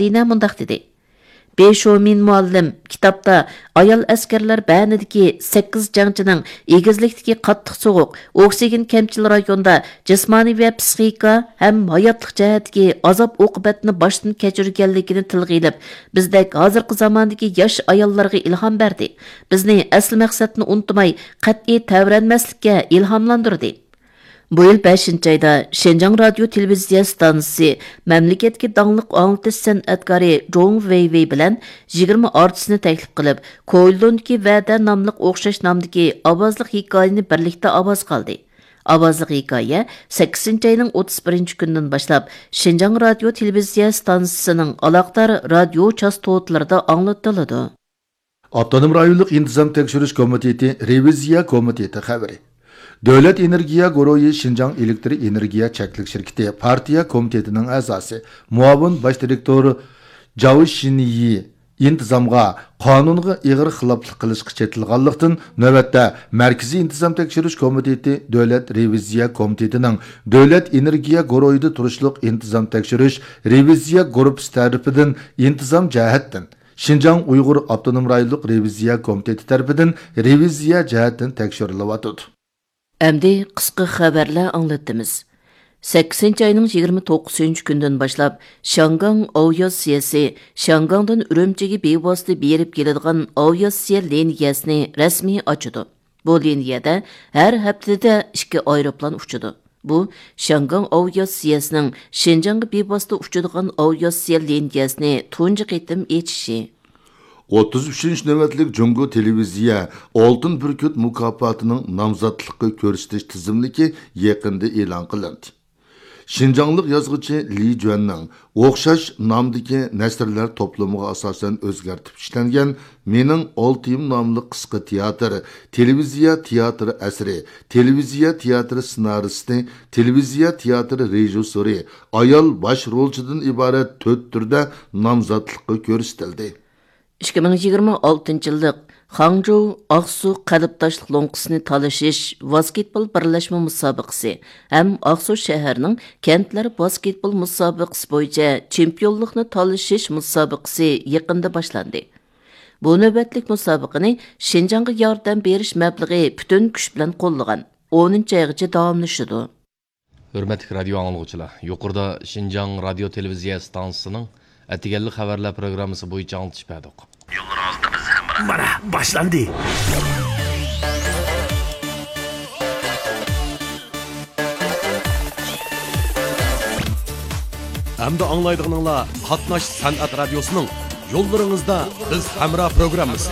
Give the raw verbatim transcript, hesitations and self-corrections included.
دىنا مۇنداق دېدى: بې شومىن مۇئەللىم كىتابتا ئايال ئەسكەرلەر بەنىدىكى سەككىز جەڭچىنىڭ ئېگىزلىكتىكى قاتتىق سوغۇق، ئوكسىگېن كەمچىل رايوندا جىسمانىي ۋە پسىخىكا ھەم ھاياتلىق جەھەتتىكى ئازاب-ئوقۇبەتنى باشتىن كەچۈرگەنلىكىنى تىلغا ئېلىپ، بىزدەك ھازىرقى زاماندىكى ياش ئاياللارغا ئىلھام بەردى، بىزنى ئەسلى مەقسەتنى ئۇنتۇماي، قەتئىي تەۋرەنمەسلىككە ئىلھاملاندۇردى. بۇ يىل بەشىنچى ئايدا شىنجاڭ رادىيو تېلېۋىزىيە ئىستانسىسى مەملىكەتتىكى داڭلىق ئاڭلىتىش سەنئەتكارى جوڭ ۋېيۋېي بىلەن يىگىرمە ئارتىسنى تەكلىپ قىلىپ، كويلۇندىكى ۋەدە ناملىق ئوخشاش نامدىكى ئاۋازلىق ھېكايىنى بىرلىكتە ئاۋازغا ئالدى. ئاۋازلىق ھېكايە سەككىزىنچى ئاينىڭ ئوتتۇز بىرىنچى كۈنىدىن باشلاپ شىنجاڭ رادىيو تېلېۋىزىيە ئىستانسىسىنىڭ ئالاقىدار رادىيو چاستوتىلىرىدا ئاڭلىتىلىدۇ. ئاپتونوم رايونلۇق ئىنتىزام تەكشۈرۈش كومىتېتى رېۋىزىيە كومىتېتى خەۋىرى. دۆلەت ئېنېرگىيە گۇرۇھى شىنجاڭ ئېلېكتر ئېنېرگىيە چەكلىك شىركىتى پارتىيە كومىتېتىنىڭ ئەزاسى، مۇئاۋىن باش دىرېكتور جاۋ شىنيى ئىنتىزامغا، قانۇنغا ئېغىر خىلاپلىق قىلىشقا چېتىلغانلىقتىن، نۆۋەتتە مەركىزىي ئىنتىزام تەكشۈرۈش كومىتېتى دۆلەت رېۋىزىيە كومىتېتىنىڭ دۆلەت ئېنېرگىيە گۇرۇھىدا تۇرۇشلۇق ئىنتىزام تەكشۈرۈش رېۋىزىيە گۇرۇپپىسى تەرىپىدىن ئىنتىزام جەھەتتىن، شىنجاڭ ئۇيغۇر ئاپتونوم رايونلۇق رېۋىزىيە كومىتېتى تەرىپىدىن رېۋىزىيە جەھەتتىن تەكشۈرۈلۈۋاتىدۇ. ئەمدى قىسقا خەۋەرلەر ئاڭلىتىمىز. سەككىزىنچى ئاينىڭ يىگىرمە توققۇزىنچى كۈنىدىن باشلاپ شياڭگاڭ ئاۋىئاتسىيەسى شياڭگاڭدىن ئۈرۈمچىگە بىۋاسىتە بېرىپ كېلىدىغان ئاۋىئاتسىيە لىنىيەسىنى رەسمىي ئاچىدۇ. بۇ لىنىيەدە ھەر ھەپتىدە ئىككى ئايروپىلان ئۇچىدۇ. بۇ، شياڭگاڭ ئاۋىئاتسىيەسىنىڭ شىنجاڭغا بىۋاسىتە ئۇچىدىغان ئاۋىئاتسىيە لىنىيەسىنى تۇنجى قېتىم ئېچىشى. ئوتتۇز ئۈچىنچى نۆۋەتلىك جۇڭگو تېلېۋىزىيە ئالتۇن بۈركۈت مۇكاپاتىنىڭ نامزاتلىققا كۆرسىتىش تىزىملىكى يېقىندا ئېلان قىلىندى. شىنجاڭلىق يازغۇچى لى جۈەننىڭ ئوخشاش نامدىكى نەسرلەر توپلىمىغا ئاساسەن ئۆزگەرتىپ ئىشلەنگەن مېنىڭ ئالتىيىم ناملىق قىسقا تىياتىر، تېلېۋىزىيە تىياتىر ئەسىرى، تېلېۋىزىيە تىياتىر سېنارىستى، تېلېۋىزىيە تىياتىر رېژىسسورى، ئايال باش رولچىدىن ئىبارەت تۆت تۈردە نامزاتلىققا كۆرسىتىلدى. ئىككى مىڭ يىگىرمە ئالتىنچى يىللىق خاڭجۇ ئاقسۇ قەلبداشلىق لوڭقىسىنى تالىشىش ۋاسكېتبول بىرلەشمە مۇسابىقىسى ھەم ئاقسۇ شەھەرنىڭ كەنتلەر ۋاسكېتبول مۇسابىقىسى بويىچە چېمپىيونلۇقنى تالىشىش مۇسابىقىسى يېقىندا باشلاندى. بۇ نۆۋەتلىك مۇسابىقىنى شىنجاڭغا ياردەم بېرىش مەبلىغى پۈتۈن كۈچ بىلەن قوللىغان ئونىنچى ئايغىچە داۋاملىشىدۇ. ھۆرمەتلىك رادىيو ئاڭلىغۇچىلار، يۇقىرىدا شىنجاڭ رادىيو تېلېۋىزىيە ئىستانسىسىنىڭ ئەتىگەنلىك خەۋەرلەر پروگراممىسى بويىچە ئاڭلىتىش بەردۇق. يوللىرىڭىزدا بىز ھەمراھ. مانا، باشلاندى. ئەمدى ئاڭلايدىغىنىڭلار قاتناش سەنئەت رادىيوسىنىڭ يوللىرىڭىزدا بىز ھەمراھ پروگراممىسى.